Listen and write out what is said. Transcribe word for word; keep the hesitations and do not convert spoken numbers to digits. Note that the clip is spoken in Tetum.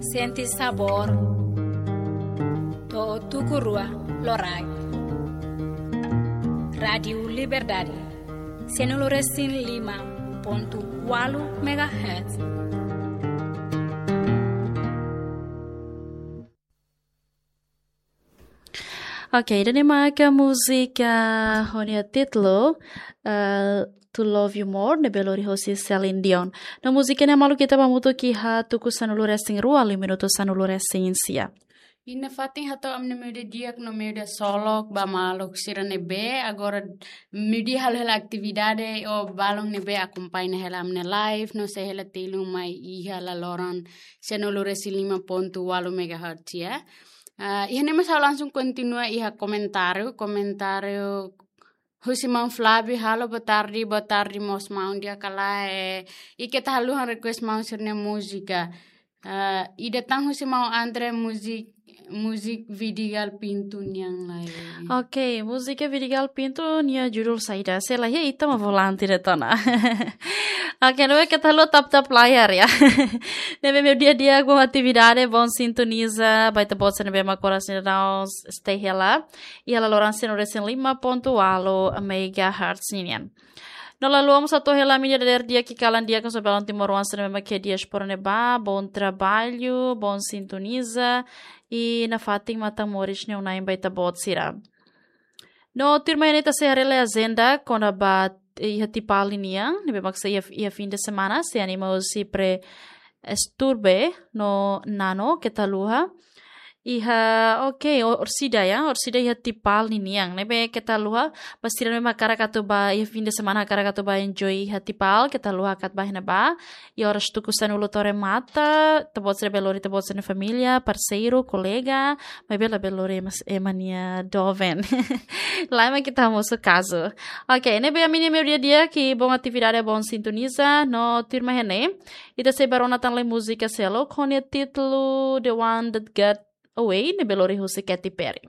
Sente sabór to'o tuku rua loraik. Rádiu Liberdade, sanulu resin lima pontu ualu megahertz. Ok, ida-ne'e maka múzika ho nia títulu, eh, To Love You More, ne'ebé lori hosi Celine Dion. No múzika ne'e maluk ita bá hamutuk iha tuku sanulu resin rua, liu minutu sanulu resin sia. Iha ne'e fatin hato'o ami-nia meiudia di'ak no meiudia solok ba maluk sira ne'ebé agora meiudia halo hela atividade ou balun ne'ebé akompaña hela ami-nia live no sei hela telun mai iha laloran sanulu resin lima pontu ualu megahertz ya. Ah, iha ne'e mós ha'u langsung kontinua iha komentáriu, komentáriu husi maun Flávio, halo boa tarde, boa tarde mós maun di'ak ka lae, eh, i keta haluha request maun sira-nia múzika. Ah, ida tan husi maun André, múzika, múzika Vidigal Pinto nian lai. Ok, múzika Vidigal Pinto nia judul saida? Se la iha ita mak volante de'it ona. Ok, ne'ebé keta haluha tap-tap layar ya. Ne'ebé meiudia di'ak, boa atividade, bom sintoniza ba ita-boot sira ne'ebé mak agora sira daudaun stay hela iha laloran sanulu resin lima pontu ualu megahertz ninian. No lalu vamos atu hela mídia dadeer di'ak ka lae di'ak, kaso balun timoroan sira ne'ebé mak iha diáspora ne'ebá, bom trabalho, bom sintoniza, i nafatin matan moris ne'e unu ba ita-boot sira. No tuirmai ne'e ita sei haree lai ajenda kona-ba iha Tipal nian, ne'ebé mak sei iha, iha fim de semana, sei anima husi Pre Esturbe no Nano, keta haluha. Iha, ok, o-, orsida ya, orsida iha Tipal ninian. Ne'ebé keta haluha, ba sira ne'ebé mak hakarak atu bá, iha fim de semana hakarak atu bá enjoy iha Tipal, keta haluha hakat bá iha ne'ebá. Iha oras tuku sanulu to'o remata, ita-boot sira bele lori ita-boot sira-nia família, parseiru, kolega, maibé labele lori ema, ema nia doben. Lae mak ita hamosu kazu. Ok, ne'ebé ami-nia meiudia di'ak, bom atividade, bom sintoniza, no tuirmai ne'e ita sei bá rona tan lai múzika seluk ho nia títulu The One That Got Away, ne'ebé lori husi Katy Perry.